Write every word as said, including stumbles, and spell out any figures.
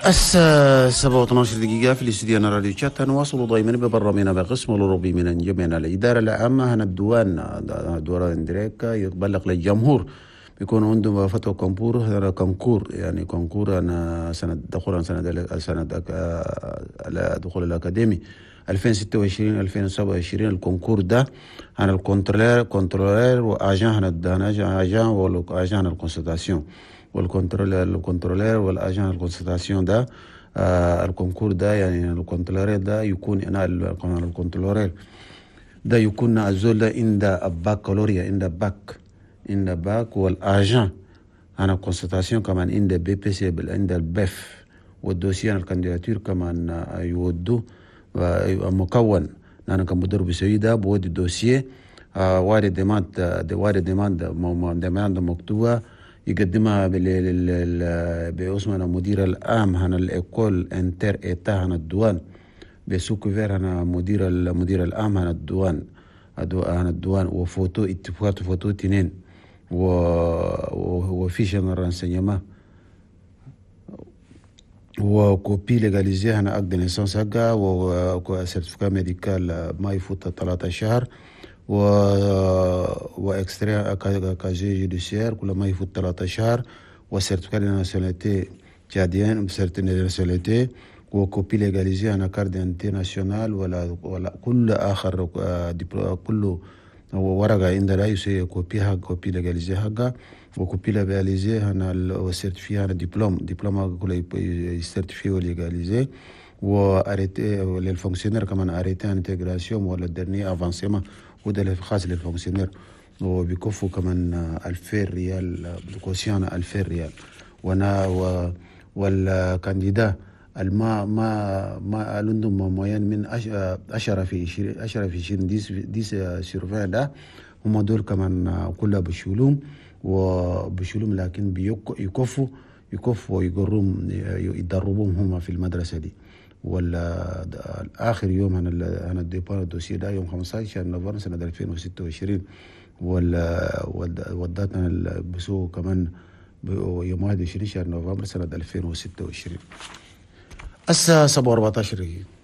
الساعة سبعة واثناشر دقيقة في الاستديو راديو تشاد. نواصل دائما ببرنامجنا بقسم الأوروبي من انجمينا. الإدارة العامة هنا الديوان ديوان ديريك يبلغ للجمهور بيكون عندهم فتوى concours، هذا concours يعني concours أنا سنة دخول سنة سنة دخول الأكاديمي ألفين وستة وعشرين ألفين وسبعة وعشرين. ال concours ده هنا ال contrôleur contrôleur و agent هنا agent وال agent ال constatation وال contrôleur ال contrôleur وال agent ال constatation ده آه ال concours ده يعني ال contrôleur ده يكون انا ال contrôleur ده يكون الزول ده عند بكالوريا، عند باك عند باك وال agent هنا constatation كمان عند BEPC عند ال B E F. وال dossier ال candidature كمان يودو مكون انا كمدرب بيسوي ده بودي dossier آه وارد demande وارد demande demande مكتوبة يقدمها باسم المدير العام هنا ال école inter-État هنا الديوان ب sous couvert هنا مدير المدير العام هنا الديوان هنا الديوان وفوتو اتفاقات فوتو تنين و fiche renseignement و copie légalisée هنا acte de naissance حقها و certificat médical ما يفوت ثلاثة شهر و و extrait casier judiciaire كل ما يفوت ثلاثة شهر و certificat de nationalité tchadienne، certificat de nationalité و copie légalisée هنا carte d'identité nationale ولا ولا كل اخر كل ورقة عند لا يسوي copie حق copie légalisée حقها و copie légalisée هنا و certifié هنا diplôme diplôme كله certifié و légalisé و arrêté لل fonctionnaire كمان arrêté intégration ولا dernier avancement، وده خاص لل fonctionnaire. وبيكفوا كمان ألفين ريال caution، ألفين ريال. وانا و وال candidat الما ما ما عندهم moyenne من عشرة في عشرين عشرة في عشرين dix dix sur vingt ده هم دول كمان كلها بشولوم وبشولوم، لكن بيكفوا يكفوا ويقروهم يدربوهم هم في المدرسة دي. ولا آخر يوم هنا هنا ال dépôt ال dossier ده يوم خمستاشر نوفمبر سنة ألفين وستة وعشرين، ولا وال date بسوق كمان يوم واحد وعشرين شهر نوفمبر سنة ألفين وستة وعشرين الساعة سبعة وأربعتاشر دقيقة.